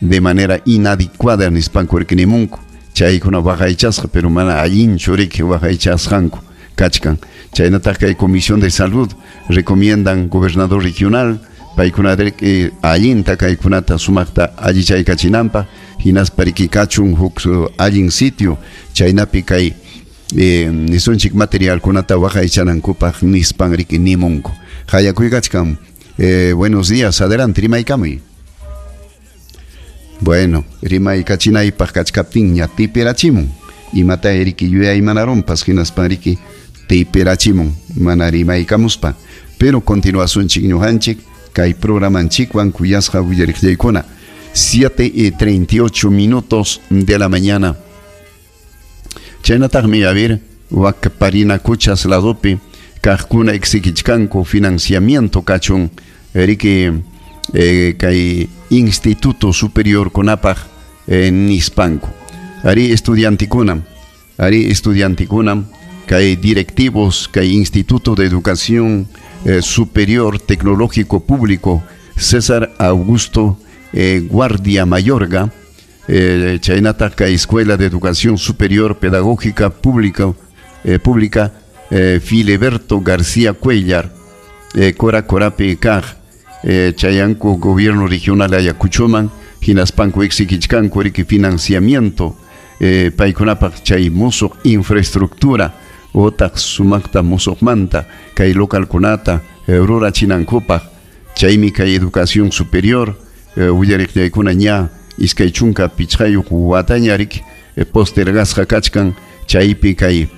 de manera inadecuada nispanku rikinimunku chaykuna waqaychasqa pero mana allinchu riki waqaychasqanku kachkan. Chaynataq kay Comisión de Salud recomiendan gobernador regional paykuna eh, allinta kaykunata sumaqta allichaykachinanpaq hinaspa riki kachun huk allin sitio chaynapi kay eh, nisunchik materialkunata waqaychanankupaq nispan riki nimunku. Hayakuykachkan. Eh, buenos días, adelante, rimaykamuy. Bueno, rimaykachinaypaq kachkaptinña tipirachimun. Imata riki yuyaymanarunpas hinaspan riki tipirachimun mana rimaykamuspa. Pero continuasunchik ñuqanchik kay programanchikwan kuyasqa willariqllaykuna. siete y treinta y ocho minutos de la mañana. Chaynataqmi a ver wak Parinacochas ladopi kaqkuna exigichkanku financiamiento kachun riki eh, kay Instituto Superior kunapaq eh, nispanku. Ari estudiantikunam, ari estudiantikunam kay directivos kay Instituto de Educación eh, Superior Tecnológico Público César Augusto eh, Guardia Mayorga, eh, chaynataq kay Escuela de Educación Superior Pedagógica Pública, eh, Pública eh, Filiberto García Cuellar, eh, Cora Corapi Kaj, eh, chayanku gobierno regional Ayacuchoman hinaspanku exigichkanku riki financiamiento eh, paykunapaq chay musuq infraestructura otaq sumaqta musuqmanta kay localkunata eh, rurachinankupaq chaymi kay educación superior eh, willariqllaykuna ña iskay chunka pichqayuq wataña riki eh, postergasqa kachkan chaypi kay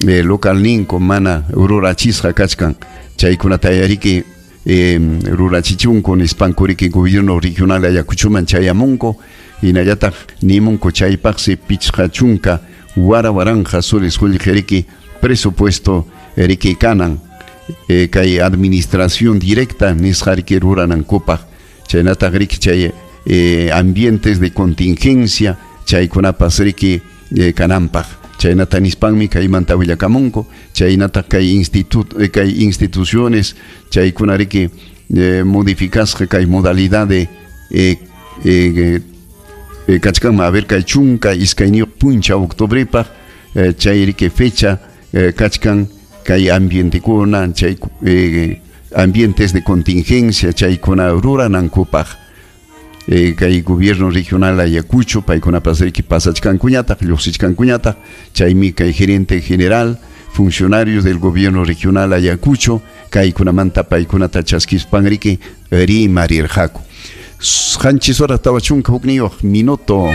eh, localninku mana rurachisqa kachkan chaykunata yariki eh, rurachichunku nispanku riki gobierno regional Ayacuchoman chayamunku hinallataq nimunku chaypaqsi pichqa chunka wara waranja soles qullqi riki presupuesto riki kanan eh, kay administración directa nisqa riki ruranankupaq chaynataq riki chay eh, ambientes de contingencia chaykunapas riki eh, kananpaq chaynata nispanmi kaymanta willakamunku chaynataq kay institut eh, kay instituciones chaykuna riki eh, modificasqa kay modalidad de eh, eh, eh, kachkanman a ver kay chunka iskayniyuq punchaw octubrepaq eh, chay riki fecha eh, kachkan kay ambientekuna chay eh, ambientes de contingencia chaykuna ruranankupaq eh, kay gobierno regional Ayacucho paykunapas riki pasachkankuñataq lluqsichkankuñataq chaymi kay gerente general funcionarios del gobierno regional Ayacucho kaykunamanta paykunata chaskispan riki rimarirqaku. Qanchis horas tawa chunka hukniyuq minuto.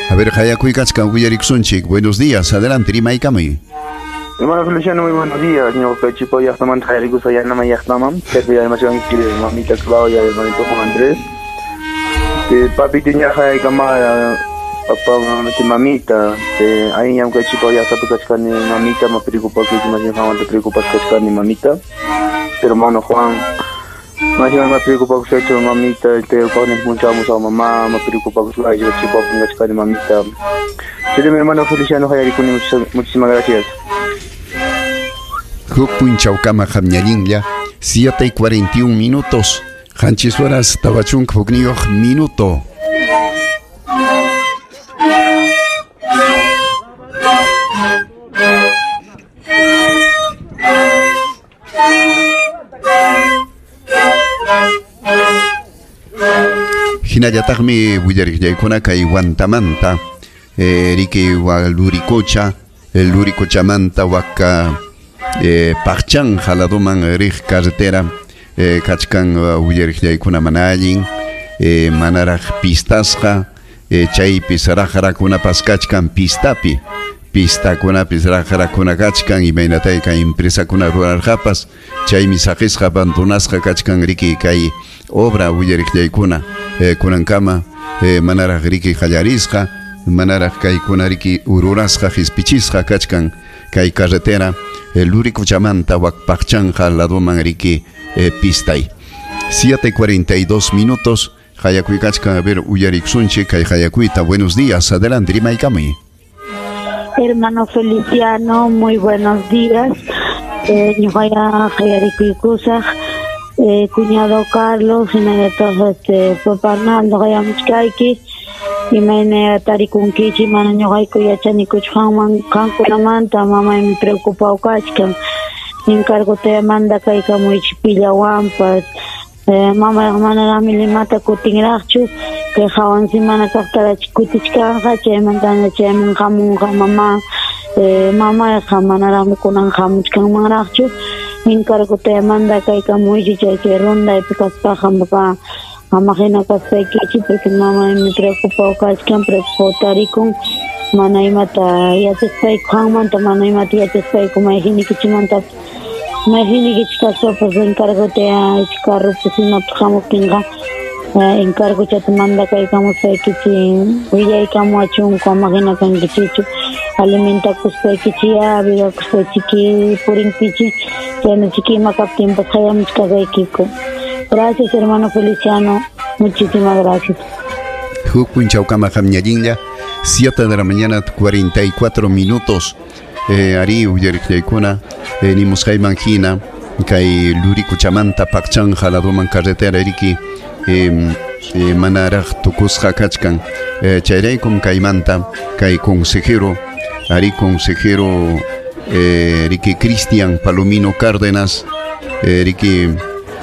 A ver, Hayakuy kachkan willarikusunchik. Buenos días, adelante, rimaykamuy. Hermano Feliciano, muy buenos días. Señor Pechipo, ya estamos mamita Claudia, hermanito Juan Andrés. Este, papi tenía camada, papá, mamita, ahí ya Pechipo ya está pecachcani, mamita, me preocupa que más bien te preocupa que mamita. Pero hermano Juan, más bien me preocupa que hecho mamita, este, cuando encontramos a mamá, me preocupa que yo chico pecachcani mamita. Sí, mi hermano Feliciano Hayarikuni, muchísimas gracias. Huk punchawkama hamñallinlla, siete y cuarenta y un minutos, qanchis horas tawa chunka hukniyuq minuto. Hinallataqmi willariqllaykuna kay Huantamanta, eh, riki wa Luricocha, el Luricochamanta waka eh, Paqchan jaladuman riq carretera eh, kachkan uh, willariqllaykuna mana allin eh, manaraq pistasqa eh, chaypis raqrakunapas kachkan pistapi pistakunapis raqrakuna kachkan imaynatay kay empresakuna rurarqapas chaymi saqisqa abandonasqa kachkan riki kay obra willariqllaykuna eh, kunankama eh, manaraq riki qallarisqa manaraq kaykuna riki ururasqa hispichisqa kachkan kay carretera el Luricochamanta wak Paqchanja laduman riki eh, pistay. siete cuarenta y dos minutos. Hayakuykacha, a ver, uyariksunchik kay Hayakuyta. Buenos días, adelante, rimaykamuy. Hermano Feliciano, muy buenos días. Eh, ñuqaya hayarikuykusaq, eh, cuñado Carlos, hinallataq este papá Arnaldo hayamuchkayki. Imayna tarikunkichik, mana ñuqayku yachanikuchu qanman qankunamanta, mamaymi preocupado kachkan. Encargote manda kaykamuychik pillawanpas. Eh, mamayqa manaraqmi Limata kutinraqchu, kay hawan semana kaqtarachik kutichkanqa, chaymantana chayman hamunqa mama, eh, mamayqa manaraqmi kunan hamuchkanmanraqchu. Encargote manda kaykamuychik chay chay rondaypi kaspaqa papá. Ama hina kaspaykichik, porque mamaymi preocupado kachkan, preocupado tarikun, mana imata yachaspayku qanmanta, mana imata yachaspayku mayqiniykichikmantapas, mayqiniykichik kaspapas encargote carropas imapas hamuptinqa encargochata mandakaykamuspaykichik willaykamuwachunku, ama hina kankichikchu, alimentakuspaykichik vivakuspaychiki purinkichik, chaynachiki ima kaptinpas hayamuchkasaykiku. Gracias, hermano Feliciano. Muchísimas gracias. Huk punchawkama hamñallinlla, siete de la mañana, cuarenta y cuatro minutos. Eh, ari uyariqllaykuna, eh, nimusqayman hina, kay Luricochamanta Paqchanja laduman carretera riki eh, eh, manaraq tukusqa kachkan. Eh, chayraykum kaymanta kay consejero, ari consejero eh, riki Cristian Palomino Cárdenas eh, riki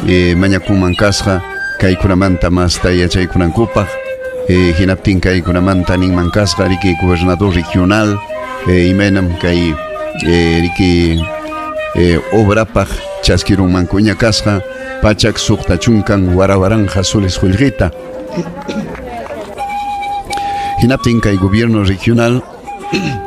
eh, mañakunman kasqa kaykunamanta masta yachaykunankupaq eh, hinaptin kaykunamanta ninman kasqa riki gobernador regional eh, imaynam kay eh, riki eh, obrapaq chaskirunmankuña kasqa pachak suqta chunkan warawaranja soles qullqita. Hinaptin kay gobierno regional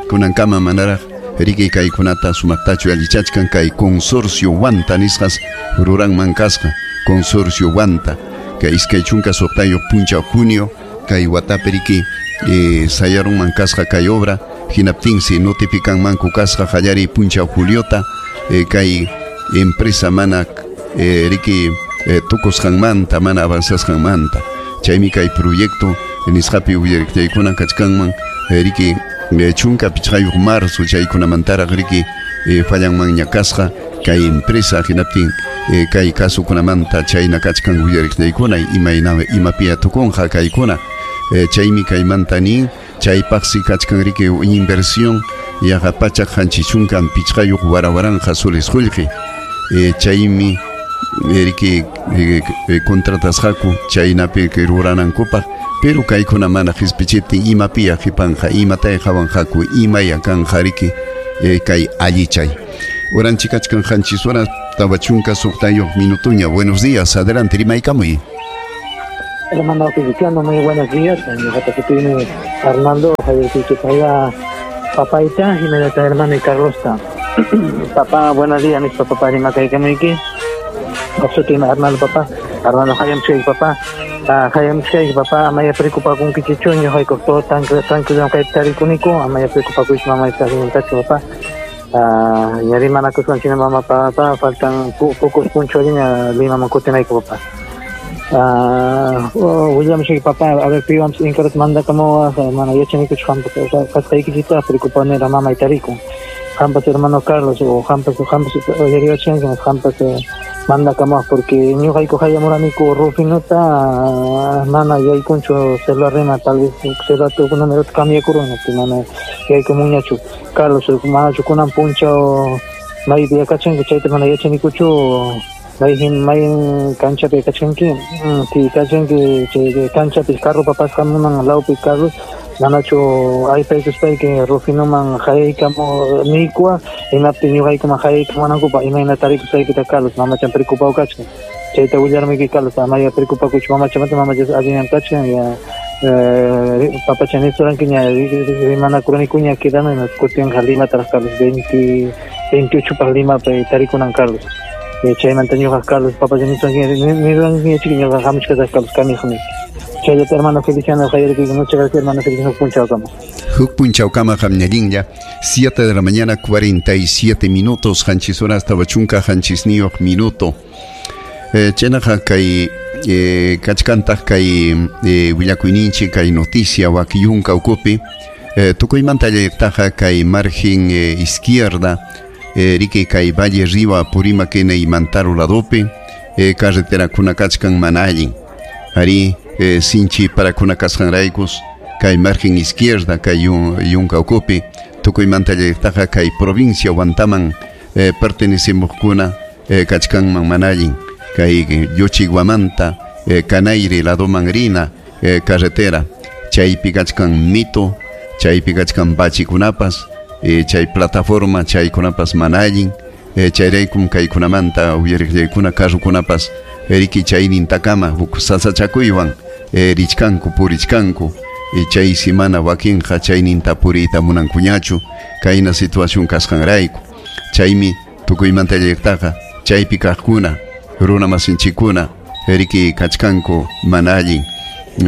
kunankama manaraq riki kaykunata sumaqtachu allichachkan kay consorcio Huanta nisqas ruranman kasqa consorcio Huanta kay iskay chunka suqtayuq punchaw junio kay watapi riki eh, sayarunman kasqa kay obra hinaptinsi notificanmanku kasqa qallariy punchaw juliota eh, kay empresa mana eh, riki eh, tukusqanmanta mana avanzasqanmanta chaymi kay proyecto nisqapi uyariqchaykuna kachkanman eh, riki eh, chunka pichqayuq marzo chaykunamantaraq riki eh, fallanmanña kasqa kay empresa hinaptin eh, kay kasukunamanta chayna kachkan uyariqchaykuna imayna imapiya tukunqa kaykuna eh, chaymi kaymanta nin chaypaqsi kachkan riki inversión yaqa pachak qanchis chunkan pichqayuq warawaranja soles qullqi eh, chaymi riki eh, eh, contratasqaku chaynapi ruranankupaq pero kaykuna mana qispichiptin imapiya qhipanqa imatay qhawanqaku imaya kanqa riki eh, kay allichay. Uranchik kachkan qanchis horas tawa chunka suqtayuq minutuña. Buenos días, adelante rimaykamuy. Hermano Feliciano, muy buenos días. Tiene Arnaldo, Javier Pichipaya, papaita, Jiménez hermano y Carlosta. Papá, buenos días, mis papá, rimakaykamuyki. Oqsutima Arnaldo, papá. Arnaldo, hayam chay, papá. Hayam chay, papá, amaya preocupakunkichichu, ñuqayku todo tranquilo kay tarikuniku, amaya preocupakush mamá tachu, papá. Ah, ña rimanakuswan china mamá, papá, faltan pocos punchawña Limaman kutinayku, papá. Ah, William Shake, papá, a ver, piwam inkarat manda como hermano, yachanikuchu hampas kasqaykichita preocupanera mamá y tariku. Hampas hermano Carlos o hampas hampas oyariwachanki hampas manda kama porque ñuqayku hayamuraniku Rufinota mana yaykunchu celular rima tal vez celular número cambiakuruna mana yaykumunñachu Carlos manachu kunan punchaw maypi yakachanki chayta mana yachanikuchu mayhin mayin kanchapi kachanki si kachanki chay kanchapi carro papasqamunan lawpi Carlos manachu aypaykuspayki Rufinoman hayaykamu niykua hinaptin ñuqaykuman hayaykamunankupa imayna tarikusqaykita Carlos mamachan preocupado kachkan chayta willarmiki Carlos amaya preocupakuchu mamachamanta mamacha allinñam kachkan ya papacha nisurankiña rimanakuranikuña quedana kutinqa Limataraq Carlos veinte veintiocho paq Limapi tarikunan Carlos chaymanta ñuqa Carlos papacha nisurankiña chiki ñuqa hamuchkasaq Carlos kamiqmi. Chayata hermano Feliciano Javier, muchas gracias hermano Feliciano Punchaucama. Huk Punchaucama hamñallinlla, siete de la mañana cuarenta y siete minutos, hanchis horas tawachunka hanchisniyuq minuto. Eh, chaynaqa kay eh, kachkantaq kay eh, willakuyninchik kay noticia wakiyunka ukupi eh, tukuymanta allaytaqa kay margen eh, izquierda eh, riki kay Valle Riva Apurímac y Mantaro ladopi eh, carreterakuna kachkan mana allin ari eh, sinchi parakuna kasqanraykus kay margen izquierda kay yunka ukupi tukuymanta allaytaqa kay provincia Huantaman eh, pertenecemuqkuna eh, kachkanman mana allin kay Yochiguamanta eh, Canairi ladoman rina eh, carretera chaypi kachkan mito chaypi kachkan bachikunapas eh, chay plataforma chaykunapas mana allin eh, chayraykum kaykunamanta uyariqllaykuna carrukunapas riki chaynintakama huk sasachakuywan eh, richkanku purichkanku eh, chay simana wakinqa chayninta puriyta munankuñachu kayna situación kasqanrayku chaymi tukuymanta allaytaqa chaypi kaqkuna runa masinchikuna riki kachkanku mana allin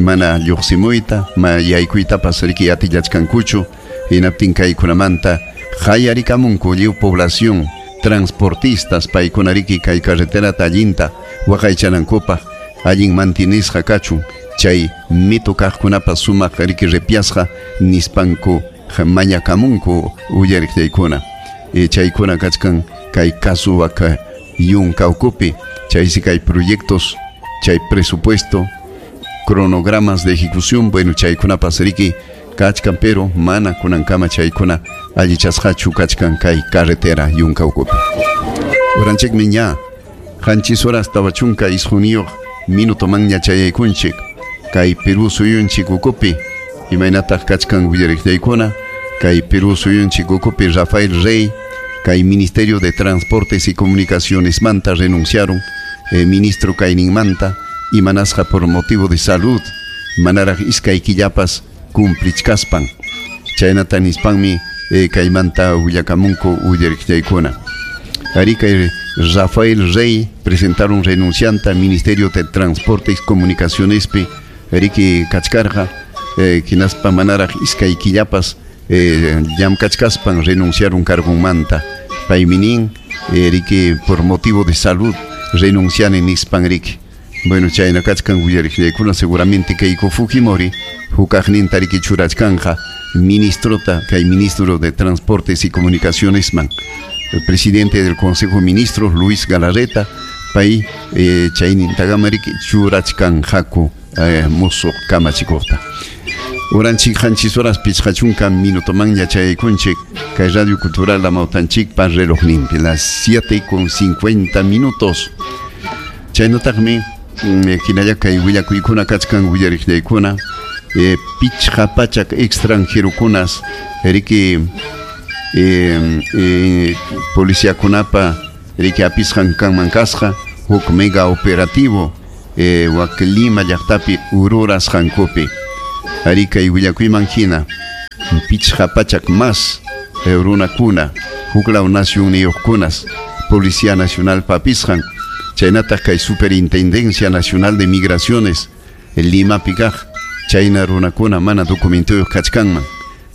mana lluqsimuyta ma yaykuytapas riki atillachkankuchu hinaptin kaykunamanta hayarikamunku lliw población transportistas paykuna riki kay carreterata allinta waqaychanankupaq allin mantinisqa kachun chay mito kaqkunapas sumaq riki ripiasqa nispanku mañakamunku uyariqllaykuna e, chaykuna kachkan kay caso waka yunka ukupi chaysi kay proyectos chay presupuesto cronogramas de ejecución bueno chaykunapas riki Kachkan pero mana kunankama chaykuna allichasqachu kachkan kay carretera yunka ukupi. Uranchikmi ña qanchis horas tawa chunka isquniyuq minuto manña chayaykunchik kay Perú suyunchik ukupi imaynataq kachkan willariqllaykuna kay Perú suyunchik ukupi Rafael Rey kay Ministerio de Transportes y Comunicaciones manta renunciaron eh, ministro kayninmanta imanasqa por motivo de salud manaraq iskay killapas cumplichkaspan chaynata nispanmi eh, kaymanta willakamunku willariqllaykuna. Ari kay Rafael Rey presentaron renuncianta al Ministerio de Transportes y Comunicaciones pi riki kachkarqa eh, hinaspa manaraq iskay killapas eh, llamkachkaspan renunciaron cargunmanta paymi nin eh, riki por motivo de salud renuncian nispan riki. Bueno, chayna kachkan willariqllaykuna seguramente Keiko Fujimori hukaqninta riki churachkanja ministrota kay ministro de Transportes y Comunicaciones man. El presidente del Consejo de Ministros, Luis Galarreta, pay eh, chaynintagama riki churachkanjaku eh, musuq kamachikuqta. Uranchik qanchis horas pichqa chunka minuto manña chayaykunchik kay Radio Cultural Amawtanchikpa relojninpi las siete con cincuenta minutos. Chaynataqmi hinalla kay willakuykuna kachkan willariqllaykuna eh, pichqa pachak extranjerokunas riki eh, eh, policiakunapa riki apisqan kanman kasqa huk mega operativo eh, wak Lima llaqtapi ururasqankupi. Ari kay willakuyman hina pichqa pachak más eh, runakuna huklaw nacionniyuqkunas Policía Nacional papisqan chaynataq kay Superintendencia Nacional de Migraciones Limapi kaq chayna runakuna mana documentuyuq kachkanman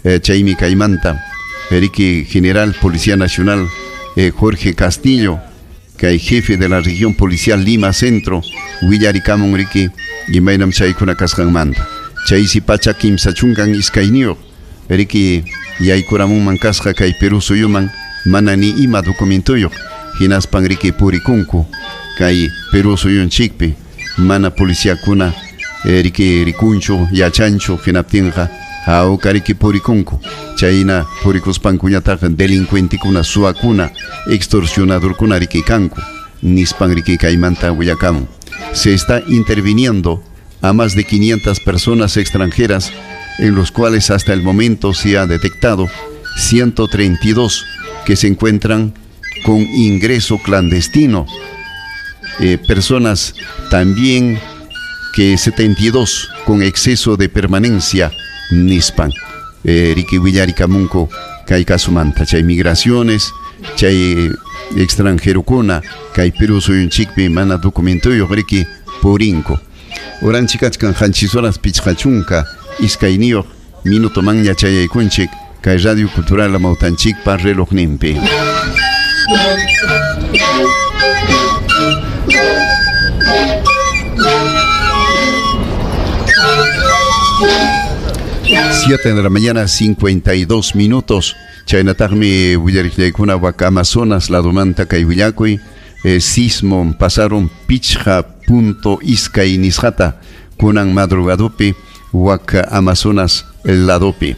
eh, chaymi kaymanta riki General Policía Nacional eh, Jorge Castillo kay jefe de la región policial Lima Centro willarikamun riki imaynam chaykuna kasqanmanta chaysi pacha kimsa chunkan iskayniyuq riki yaykuramunman kasqa kay Perú suyuman mana ni ima documentuyuq hinaspan riki purikunku kay Perú suyunchikpi mana policiakuna eh, riki rikunchu yachanchu hinaptinqa hawka riki purikunku chayna purikuspankuñataq delincuentekuna suwakuna extorsionadorkuna riki kanku nispan riki kaymanta willakamun. Se está interviniendo a más de quinientas personas extranjeras en los cuales hasta el momento se ha detectado ciento treinta y dos que se encuentran con ingreso clandestino. Eh, personas también que setenta y dos con exceso de permanencia nispan. Eh, riki willarikamunku kay kasumanta chay migraciones chay extranjerokuna kay Perú suyunchikpi mana documentuyuq riki purinku. Uranchikachkan qanchis horas pichqa chunka iskayniyuq minuto manña chayaykunchik kay Radio Cultural Amawtanchikpa relojninpi. Siete de la mañana, cincuenta y dos minutos. Chaynataqmi willariqllaykuna wak Amazonas ladomanta kay willakuy eh, sismo pasaron pichqa punto iskay nisqata kunan madrugadupi wak Amazonas ladopi.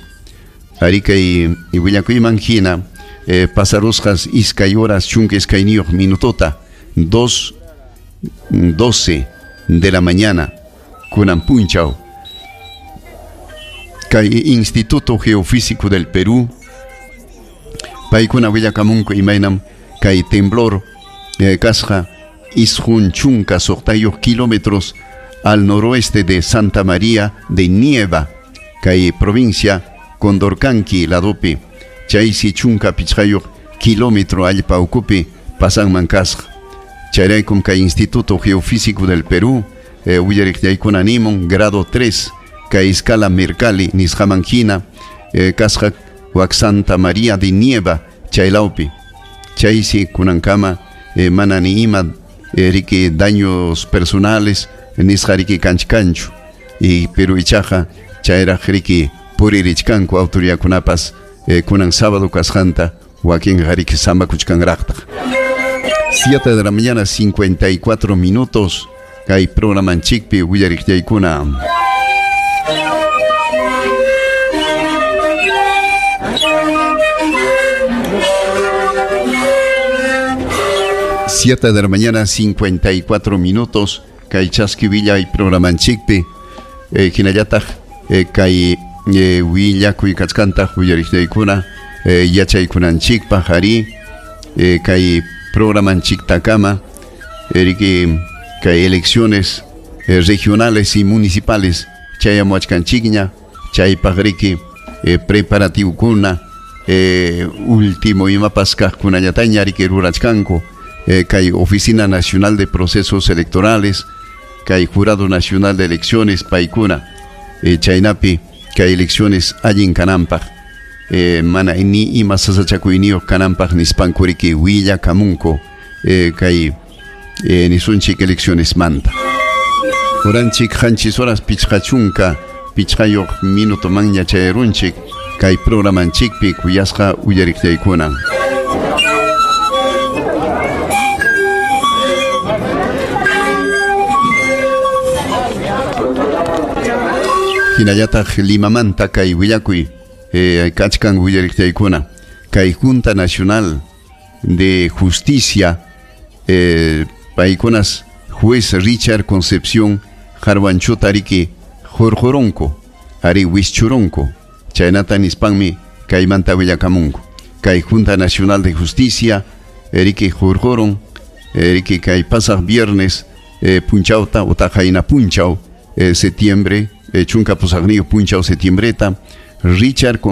Ari kay willakuyman hina eh, pasarusqas iskay horas chunka iskayniyuq minutota dos doce de la mañana kunan punchaw. Kay Instituto Geofísico del Perú paykuna willakamunku imaynam kay temblor eh, kasqa isqun chunka suqtayuq kilómetros al noroeste de Santa María de Nieva kay provincia Condorcanqui ladopi chaysi chunka pichqayuq kilómetro allpa ukupi pasanman kasqa. Chayraykum kay Instituto Geofísico del Perú eh, willariqllaykuna nimun grado tres kay escala Mercalli nisqaman hina eh, kasqa wak Santa María de Nieva chaylawpi chaysi kunankama eh, mana ni ima eh, riki daños personales nisqa riki kanchkanchu y pero ichaqa chayraq riki puririchkanku autoridadkunapas eh, kunan sábado kasqanta wakinqa riki samakuchkanraqtaq. Siete de la mañana cincuenta y cuatro minutos kay programanchikpi willariqllaykuna. Siete de la mañana, cincuenta y cuatro minutos. Kay chaski villa y programanchikpi. Eh, hinallataq eh, kay eh, willakuy kachkantaq uyariqtaykuna eh, yachaykunanchikpaq ari eh, kay programanchiktakama eriki kay elecciones eh, regionales y municipales chayamuachkanchikña chaypaq riki eh, preparativokuna eh, último imapas kaqkunallataña riki rurachkanku eh, kay Oficina Nacional de Procesos Electorales kay Jurado Nacional de Elecciones paykuna eh, chaynapi kay elecciones allin kananpaq eh, mana ni ima sasachakuyniyuq kananpaq nispankuriki willakamunku eh, kay eh, nisunchik elecciones manta. Uranchik qanchis horas pichqachunka pichqayuq minuto manña chayarunchik kay programanchikpi kuyasqa uyariqtaykuna. Hinallataq Limamanta kay willakuy eh, kachkan willariqtaykuna kay Junta Nacional de Justicia eh, paykunas juez Richard Concepción Harwanchota riki hurquronku ari wischuronku chaynata nispanmi kaymanta willakamunku kay Junta Nacional de Justicia riki hurquron riki kay pasaq viernes eh, punchawta utaq qayna punchaw eh, septiembre chunka pusaqniyuq punchaw septiembreta Richard